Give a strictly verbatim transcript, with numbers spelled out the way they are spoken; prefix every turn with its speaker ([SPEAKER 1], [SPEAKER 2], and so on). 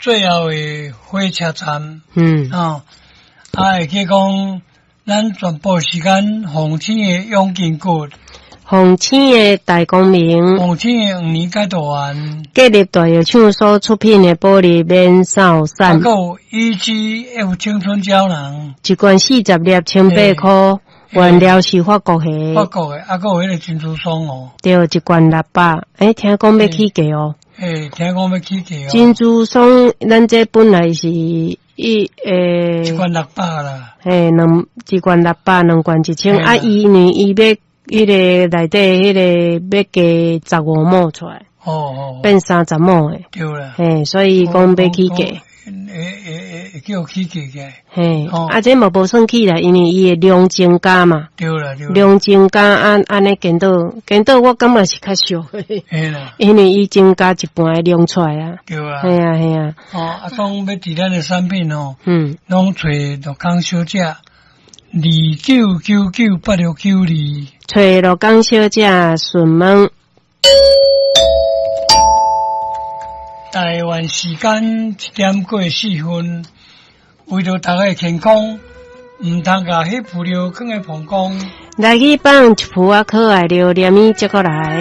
[SPEAKER 1] 最後的火車站，
[SPEAKER 2] 嗯，
[SPEAKER 1] 哦，啊，會記講咱全部時間鳳青的養筋骨，
[SPEAKER 2] 鳳青的大光明，
[SPEAKER 1] 鳳青的黃連解毒丸，
[SPEAKER 2] 建立大藥廠所出品的保利免掃
[SPEAKER 1] 啊，
[SPEAKER 2] 散，
[SPEAKER 1] 閣有 E G F 青春膠囊，
[SPEAKER 2] 一罐四十粒，千八箍，原料是法國的，
[SPEAKER 1] 法國的，啊，閣有彼個珍珠霜哦，
[SPEAKER 2] 對，一罐六百，欸，聽講欲起價哦。
[SPEAKER 1] 欸，聽講欲起價哦。
[SPEAKER 2] 珍珠霜，咱這本來是一欸，
[SPEAKER 1] 一罐六百啦。
[SPEAKER 2] 嘿，兩一罐六百，兩罐一千。啊，伊呢，伊欲彼個內底彼個欲加十五毫出來，
[SPEAKER 1] 哦哦，
[SPEAKER 2] 變三十毫的。
[SPEAKER 1] 對啦。
[SPEAKER 2] 嘿，所以講欲起價。
[SPEAKER 1] 會會會叫起價嘅。
[SPEAKER 2] 嘿，啊，這嘛無算起啦，因為伊的量增加嘛。
[SPEAKER 1] 對啦對啦。
[SPEAKER 2] 量增加，按按呢顛倒顛倒，我感覺是較俗。
[SPEAKER 1] 嘿啦。
[SPEAKER 2] 因為伊增加一半的量出來啊。
[SPEAKER 1] 對啊。
[SPEAKER 2] 嘿啊嘿啊。
[SPEAKER 1] 哦，啊，講欲佇咱的產品哦，
[SPEAKER 2] 嗯，
[SPEAKER 1] 攏揣陸康小姐，二九九九八六九二。
[SPEAKER 2] 揣陸康小姐詢問。
[SPEAKER 1] 台灣時間一點過四分，為著大家的健康，毋通共彼浮尿囥佇膀胱。
[SPEAKER 2] 來去放一幅仔可愛榴蓮，接過來。